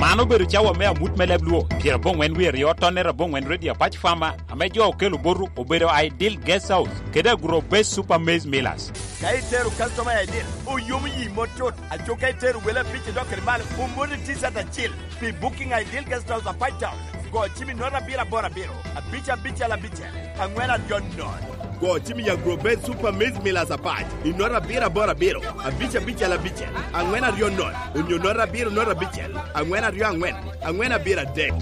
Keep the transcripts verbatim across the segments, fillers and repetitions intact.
An obedo cawa me amut me leb Luo, pyeraboŋwen wie aryo tonnere aboŋwen Radio Apac Farmer, ame jo okelo botu obedo Ideal Guest House kede Agro Base Super Maize Millers. Ka itero customer i Ideal, oyomo yi mot tut. Aco ka itero wele abic idok kede malo, omoti T-shirt acil. Pi booking Ideal Guest House Apac Town, go cim i note abiro aboro abiro, abic abicel abicel, aŋwen aryo nono. Go cim i Agro Base Super Maize Millers Apac i note abiro aboro abiro, abic abicel abicel, aŋwen aryo nono, onyo note abiro note abicel, aŋwen aryo aŋwen, aŋwen abiro adek.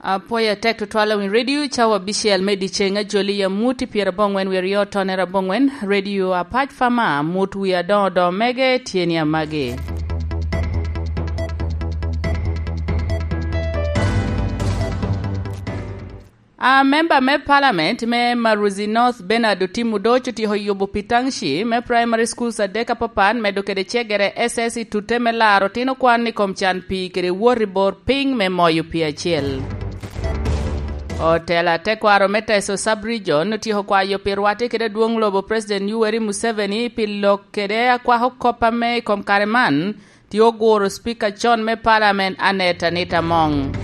Apwoyo atek tutwal a Winy Radio, cawa abicel me dyeceŋ, ajoli i amut i pyeraboŋwen wie aryo tonnere aboŋwen, Radio Apac Farmer, amut wie adoŋo doŋo mege tye ni amagi. A memba me palament me Maruzi North, Bernard Otim Odoc, otyeko yubo pi township me primary schools adek apapat, medo kede cegere S S i tutte me laro otino kwan i kom can pii kede wot i bor piny me moyo pii acel. Otela tekwaro me Teso Sub-Region otyeko kwayo pi rwatte kede adwoŋ lobo President Yoweri Museveni pi lok kede akwako kop ame i kom kare man tye oguro Speaker con me Parliament, Annet Anita Among.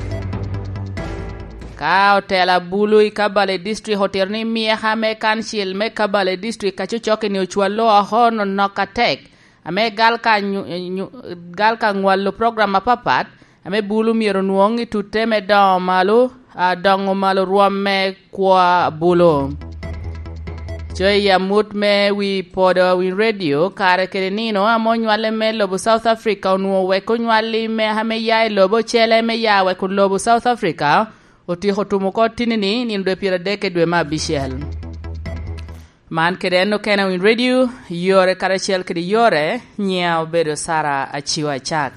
Ka otela bulu i Kabale District otito ni myeka me kancil me Kabale District a Cocoke-ni ocwallo oko nonok atek, ame gal ka nyu-, nyu-, gal ka ŋwalo program apapat, ame bulu myero onwoŋ i tutte me doŋo malo, a, doŋo malo rwom me kwo a bulu. Co i amut me wi podo a Winy Radio, kare kede nino ame onywalle me lobo South Africa onwoŋo wek onywalli me ame ya i lobo ocele me ya wek lobo South Africa otyeko tumo oko tinni-ni nino dwe pyeradek i dwe me abicel. Man kede en okene a Winy Radio, yore karacel kede yore, nyiŋa obedo Sara Aciwa Acak.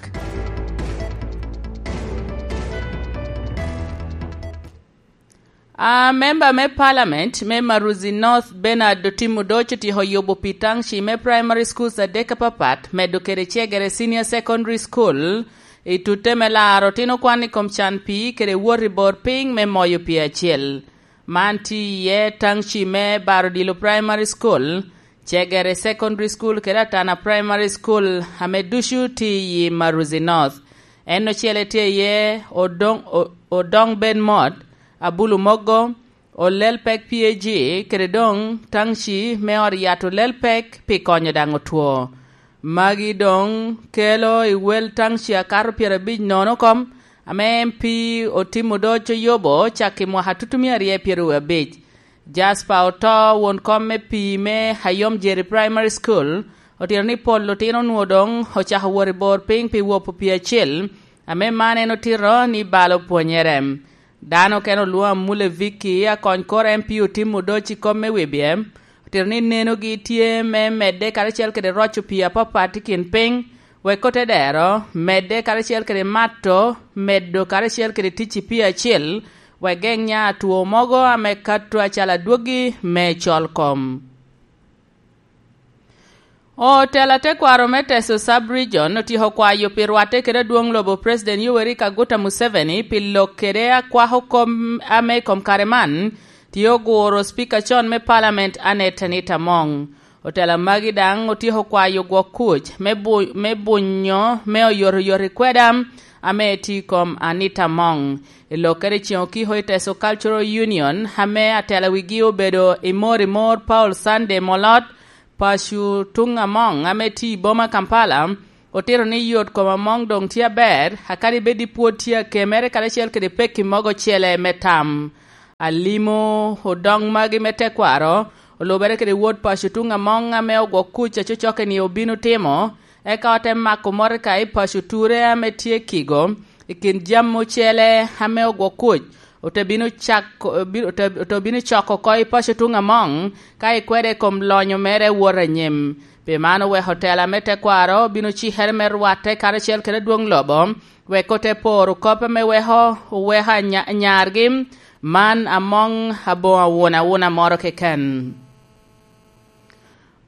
A memba me palament me Maruzi North, Bernard Otim Odoc, otyeko yubo pi township me primary schools adek apapat, medo kede cegere senior secondary school, i tutte me laro otino kwan i kom can pii kede wot i bor piny me moyo pii acel. Man tye iye township me Barodilo Primary School, Cegere Secondary School kede Atana Primary School, ame ducu tye i Maruzi North. En ocele tye iye Odong, O-, Odong Ben Mot, Abulu Mogo, Olel Pek P A G, kede doŋ township me ot yat Olel Pek pi konyo daŋ otwo. Magi doŋ kelo i wel township akato pyerabic nono kom, ame M P Otim Odoc oyubo cak i mwaka tutumia aryo pyeraryo abic. Jasper Oto, won kom me pii me Ayom Jerry Primary School, otito ni pol lutino onwoŋo doŋ ocako wot i bor piny pi wopo pii acel, ame man en otito ni balo pwonyere. Dano okene olwoŋo Amule Vicky, akony kor M P Otim Odoc i kom me wibye, otito ni nenogi tye me medde karacel kede roco pii apapat i kin piny, wek ote dero medde karacel kede mato, medo karacel kede tic i pii acel, wek geŋ nya two mogo ame kato acalo adwogi me col kom. Otela tekwaro me Teso Sub-Region otyeko kwayo pi rwatte kede adwoŋ lobo President Yoweri Kaguta Museveni pi lok kede akwako kom ame i kom kare man tye oguro Speaker con me Parliament, Annet Anita Among. Otela magi daŋ otyeko kwayo gwok kuc me bu-, me bunyo me oyotoyot i kweda ame tye i kom Anita Among. I lokkere ceŋ okiko i Teso Cultural Union, ame atela wigi obedo i mor i mor Paul Sunday Molot, Paco Tuŋ Among, ame tye i boma Kampala, otito ni yot kom Among doŋ tye aber, akadi bed ni pwod tye akemere karacel kede pekki mogo ocele me tam. Alimo odoŋ magi me tekwaro, olubere kede wod Paco Tuŋ Among ame ogwok kuc a Cocoke-ni obino timo, eka ote mako motoka i Paco Ture ame tye Kigo, i kin jami ocele ame ogwok kuc, ote bino cako, bi-, ote, ote bino coko oko i Paco Tuŋ Among, ka ikwede i kom lonyo mere wot anyim. Pi man oweko otela me tekwaro bino cikere me rwatte karacel kede adwoŋ lobo, wek ote poro kop ame weko, oweko anya-, anyargi, man Among aboŋo awuna awuna moro keken.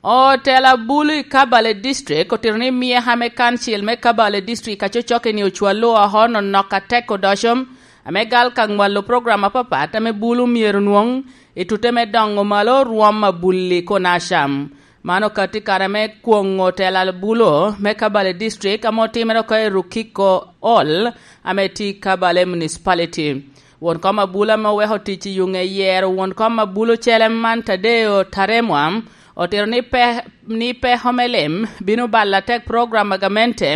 Otela bulu i Kabale District otito ni myeka me kancil me Kabale District a Cocoke-ni ocwallo oko nonok atek odoco, ame gal ka ŋwalo program apapat ame bulu myero nwoŋ I tute me doŋo malo rwom abulli kun acam. Man okatti kare me kwoŋo tela bulo me Kabale District ame otimere oko i Rukiko Hall ame tye i Kabale Municipality. Won kom abulo ame oweko tic i yuŋ eyero won kom abulo cele man Tadeo Taremwa otito ni pe-, ni peko me lim bino balo atek program a gamente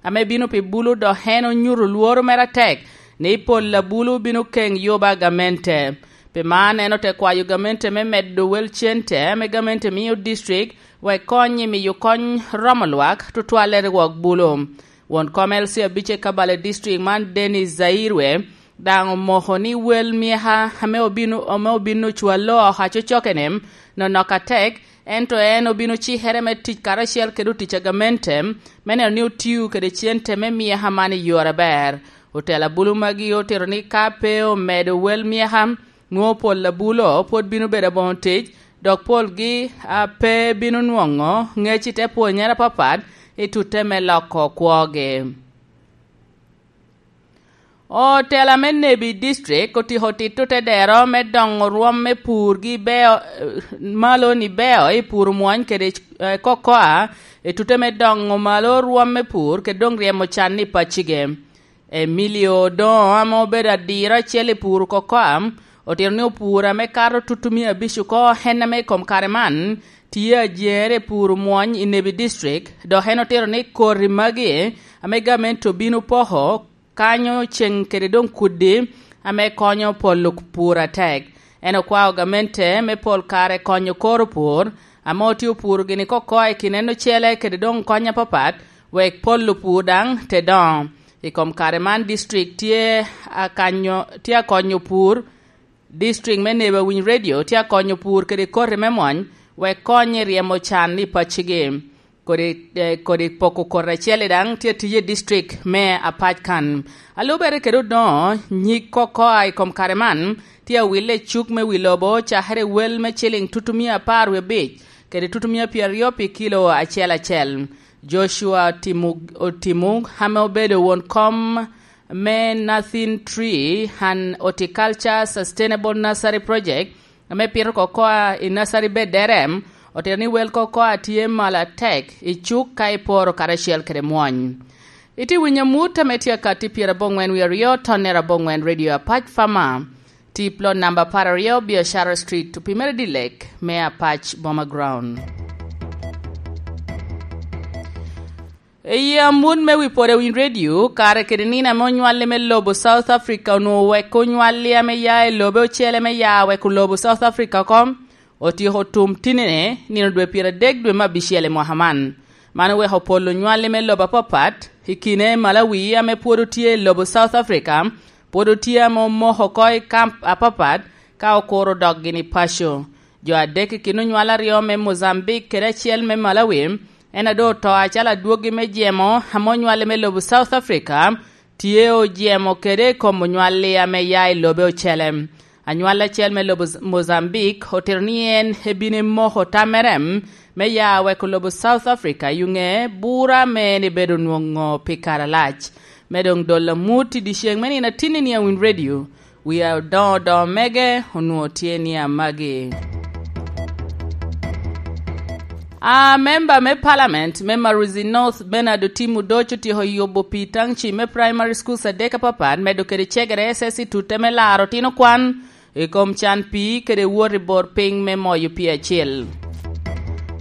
ame bino pi bulu, dok en onyuto lworo mere atek ni pol a bulu bino keŋ yuba a gamente. Pi man, en ote kwayo gamente me medo wel cente ame gamente mio district wek kony i miyo kony romo lwak, tutwalle i rwok bulu. Won kom L C abic i Kabale District man, Dennis Zairwe, daŋ omoko ni wel myeka ame obino, ame obino cwalo oko acocokene nonok atek, ento en obino cikere me tic karacel kede otic a gamente, me neno ni otio kede cente me myeka man i yore aber. Otela bulu magi otito ni ka pe omedo wel myeka, nwoŋo pol a bulo pwod bino bedo aboŋo tic, dok polgi a pe bino nwoŋo ŋec i te pwonyere apapat i tutte me loko kwogi. Otela me Nebi District otiko tito te dero me doŋo rwom me pur gi beo, eh, malo ni beo i pur mwony kede, eh, kokoa, i tute me doŋo malo rwom me pur kede doŋ ryemo can i pacige. Emilio Odongo, ame obedo adiro acel i pur kokoa, otito ni opur ame kato tutumia abic oko en ame i kom kare man tye ajer i pur mwony i Nebi District, dok en otito ni koti magi ame gamente obino poko kanyo ceŋ kede doŋ kudi ame konyo polo pur atek. En okwao gamente me pol kare konyo koro pur, ame otye opuro gini kokoa i kin en ocele kede doŋ kony apapat, wek polo pur daŋ te doŋo. I kom kare man, district tye akanyo, tye akonyo pur, district me Nebo Awiny Radio tye akonyo pur kede koti me mwony, wek kony i ryemo can i paccigi. Kodi, eh, kodi poko koti acel-li daŋ tye tiyo i district me Apac kan. A lubere kede odoŋo, nyig kokoa i kom kare man tye awille i cuk me wi lobo, cakere i wel me ciliŋ tutumia apar wie abic kede tutumia pyeraryo pi kilo acel acel. Joshua Otimu-, Otimu, ame obedo won kom me Nothing Tree and Horticulture Sustainable Nursery Project, ame pito kokoa i nursery bed D R M, otito ni wel kokoa tye malo atek i cuk ka iporo karacel kede mwony. Itye winyo amut ame tye akatti pyerabongwen wie aryo, tonnere abongwen, Radio Apac Farmer. Tip lot namba apar aryo, Biashara Street, opimere dilek me Apac Boma Ground. I amut me wi pwod Awiny Radio, kare kede nino ame onywalli me lobo South Africa onwoŋo wek onywalli ame ya i lobe ocele me ya wek olobo South Africa oko, otyeko tum tinine nino dwe pyeradek dwe me abicel i mwaka man. Man oweko pol onywalli me lobo apapat, i kine Malawi ame pwod otye i lobo South Africa, pwod otye ame omoko oko i kamp apapat ka okuro dok gini paco. Jo adek i kin onywal aryo me Mozambique kede acel me Malawi, en a doŋ oto acalo adwoggi me jemo ame onywalli me lobo South Africa, tye ojemo kede i kom onywalli ame ya i lobe ocele. Anywal acel me lobo Z-, Mozambique otito ni en ebino emoko tammere me ya weko lobo South Africa i ŋe bura ame en ebedo onwoŋo pi kare alac. Me doŋ dolo amut i dyeceŋ me nino atinni ni Awiny Radio, wi adoŋo doŋo mege onwoŋo tye ni amagi. A memba me Parliament me Maruzi North, Bernard Otim Odoc, otyeko yubo pi taŋci me primary schools adek apapat, medo kede cegere S S C tute me laro tino kwan i kom can pii kede wot i bor piny me moyo pii acil.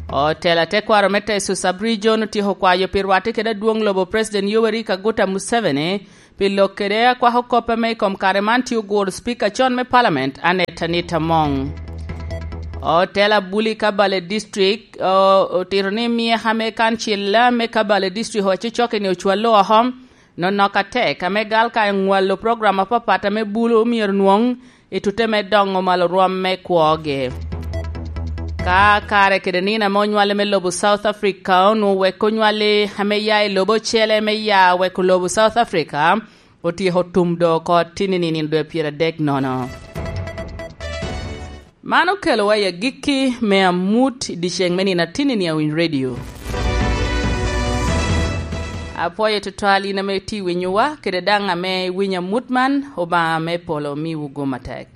Otela tekwaro me Teso Sub-Region otyeko kwayo pi rwatte kede adwoŋ lobo President Yoweri Kaguta Museveni pi lok kede akwako kop ame i kom kare man tye oguro Speaker con me Parliament, Annet Anita Among. Otela Buli Kabale District, o-, otito ni myeka me kancil me Kabale District owaco cokke ni ocwallo oko, nonok atek ame gal ka nywalo program apapat ame bulu myero nwoŋ i tute me doŋo malo rwom me kwogi. Ka kare kede nino ame onywale me lobo South Africa onwoŋo wek onywali ame ya i lobo ocele me ya weko lobo South Africa, otyeko tum do oko tinini nino dwe pyeradek nono. Man okelowa i agikki me amut i dyeceŋ me nino atinni ni Awiny Radio. Apwoyo tutwal in ame itye winyowa, kede daŋ ame iwinyo amut man, Obaŋa me polo miwu gum atek.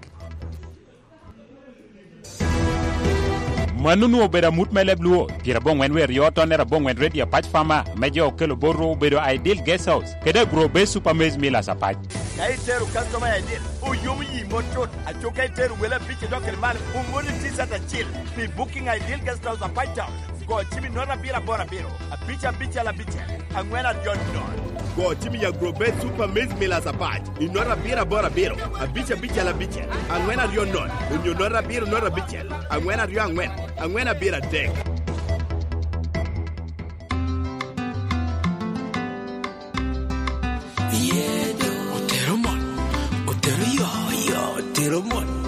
Mano onwoŋo obedo amut me leb Luo, pyerabongwen wer yo tonnere abongwen Ready Apac Farmer, ame jo okelo botwu obedo Ideal Guest House, kede Agro Base Super Maize Millers Apac. Ka itero customer Ideal, oyomo yi mot tut. Aco ka itero wele abic idok kede malo, omoni T-shirt acil pi booking Ideal Guest House Apac Town. Go cim i note abiro aboro abiro, abic abicel abicel, angwen aryo nono. Go cim i Agro Base Super Maize Millers Apac i note abiro aboro abiro, abic abicel abicel, angwen aryo nono, onyo note abiro note abicel, angwen aryo angwen, angwen abiro adek. Otero mon, otero yo, yo, otero mon.